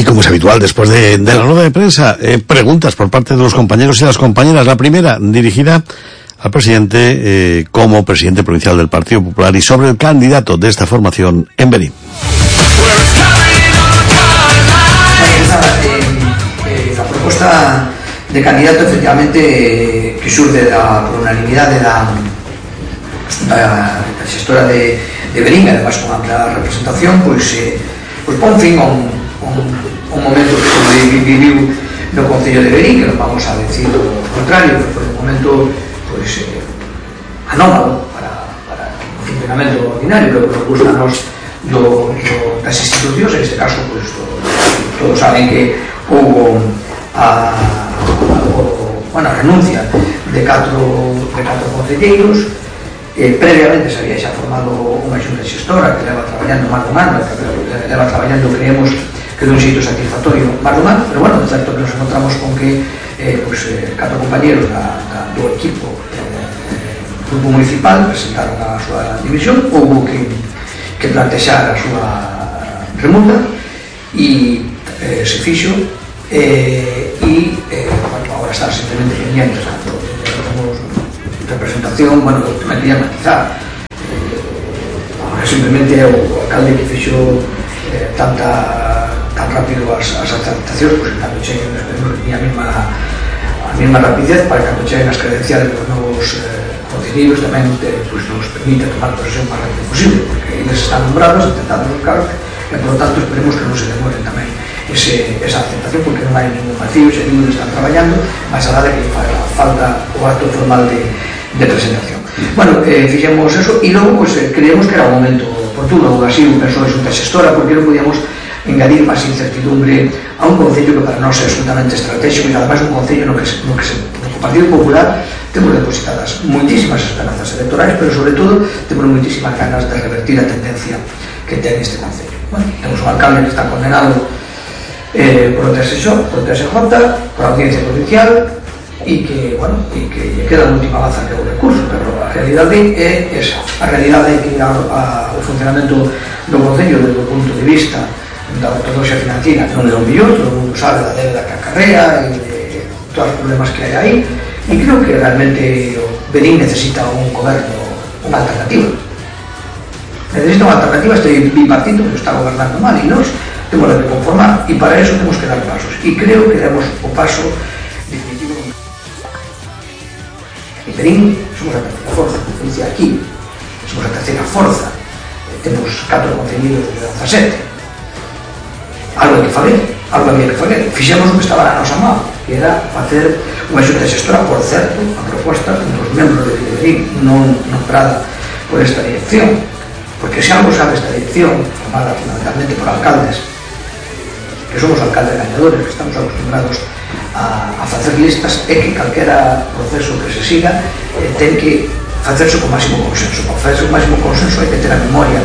Y como es habitual, después de la rueda de prensa, preguntas por parte de los compañeros y las compañeras. La primera, dirigida al presidente como presidente provincial del Partido Popular y sobre el candidato de esta formación en Verín. La propuesta de candidato, efectivamente, que surge por unanimidad de la gestora de Verín, además con amplia representación, pues pon fin a un momento que se viviu no Concello de Verín, que non vamos a decir o contrario, que foi un momento pues anómalo para o funcionamento ordinario, pero que nos gusta a nos das institucións. En este caso, pues todos saben que houve a renuncia de 4 concelleiros. Previamente se había xa formado unha xunta xestora que leva traballando máis dun ano, que leva traballando, creemos que dun xeito satisfactorio máis dun ano, pero bueno, é certo que nos encontramos con que 4 compañeros do equipo grupo municipal presentaron a súa división, houve que plantexar a súa remuda e se fixo e agora está simplemente pendiente. Temos representación, bueno, tamén quería matizar, simplemente é o alcalde que fixo tan rápido as aceptacións, pois cando cheguen, esperemos que teña a mesma rapidez para cando cheguen as credenciales dos novos concelleiros tamén nos permite tomar posesión o máis rápido posible, porque eles están nombrados, intentando os cargos, e por lo tanto esperemos que non se demoren tamén esa aceptación, porque non hai ningún vacío, se ningún están traballando, máis a nada que falta o acto formal de presentación. Bueno, fixemos eso e logo pues, creemos que era un momento oportuno, ou así un persoa de xunta xestora, porque non podíamos engadir máis incertidumbre a un concello que para nós é absolutamente estratégico e además un concello no que o Partido Popular temos depositadas moitísimas esperanzas electorais, pero sobre todo temos moitísimas ganas de revertir a tendencia que ten este concello. Bueno, temos un alcalde que está condenado por o TSJ, por a Audiencia Provincial, e que lle queda a última baza que é o recurso, pero a realidade é esa. A realidade é que o funcionamento do concello desde o punto de vista da ortodoxia financiera non é o mellor, todo o mundo sabe da débeda que acarrea e de todos os problemas que hai aí, e creo que realmente o Verín necesita un goberno, unha alternativa. Necesita unha alternativa. Este bipartito que está gobernando mal e nós temos que conformar, e para eso temos que dar pasos, e creo que demos o paso definitivo. En Verín somos a terceira forza, como dice aquí, somos a terceira forza, temos 4 concelleiros de 17. Algo hai que fazer, fixemos o que estaba na nosa mão, que era facer unha xunta xestora, por certo, a proposta dos membros de Verín, non nombrada por esta dirección, porque se algo sabe esta dirección, formada fundamentalmente por alcaldes, que somos alcaldes gañadores, que estamos acostumbrados a facer listas, é que calquera proceso que se siga ten que facerse con máximo consenso. Para facerse con máximo consenso hai que ter a memoria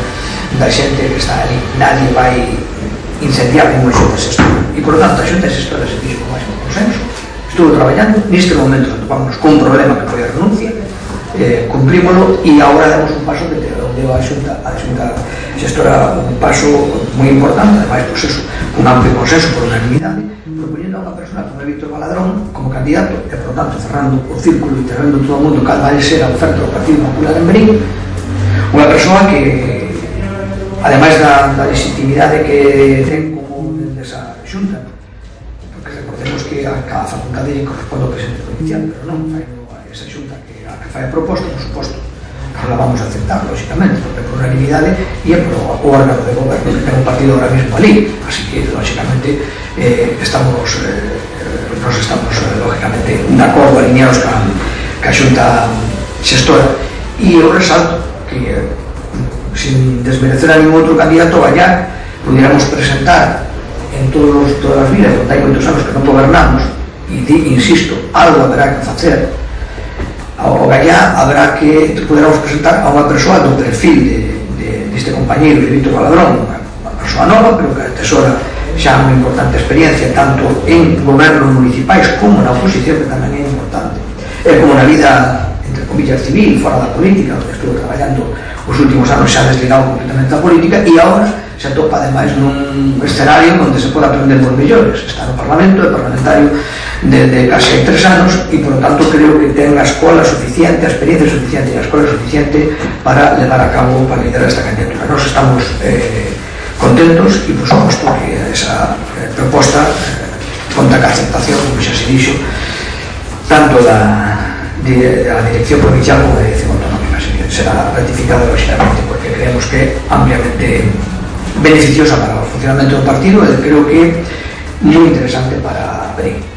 da xente que está ali. Nadie vai incendiar ningún xunta xestora, e por lo tanto a xunta xestora se fixo con máximo consenso, estuvo traballando, neste momento topámonos con un problema que foi a renuncia, cumprímolo, e agora damos un paso que deu a xunta xestora un paso moi importante, ademais, pues eso, un amplio consenso por unanimidade, propoñendo a unha persona como Víctor Baladrón como candidato, e por tanto cerrando o círculo e cerrando todo o mundo cal vai ser a oferta do Partido Popular en Verín, unha persoa que ademais da legitimidade que ten como desa xunta, porque recordemos que a cada facultade lle corresponde ao presidente provincial, pero non, esa xunta que fai a proposta, por suposto, non la vamos a aceptar, lógicamente, porque por unanimidade e é por o órgano de goberno que ten un partido ahora mismo ali, así que, lógicamente, nos estamos, lógicamente, de acordo, alineados ca xunta xestora, e eu resalto que sin desmerecer a ningún outro candidato gañar, pudiéramos presentar en todas as vidas onde hai moitos anos que non gobernamos, e insisto, algo haberá que facer. Ao gañar haberá que pudiéramos presentar a unha persoa do perfil deste compañeiro de Víctor Baladrón, unha persoa nova, pero que atesora xa unha importante experiencia tanto en gobernos municipais como na oposición, que tamén é importante, como na vida, entre comillas, civil, fora da política, onde estuvo traballando os últimos anos xa desligado completamente da política, e agora se atopa ademais nun escenario onde se pode aprender por mellores. Está no Parlamento, é parlamentario de case 3 anos e, por lo tanto, creo que ten a escola suficiente, a experiencia suficiente e a escola suficiente para levar a cabo, para liderar esta candidatura. Nos estamos contentos e, por suposto, que esa proposta conta ca aceptación, como xa se dixo, tanto da Dirección Provincial como da Dirección Autonómica. Será ratificada lógicamente, porque creemos que é ampliamente beneficiosa para o funcionamento do partido e creo que moi interesante para Verín.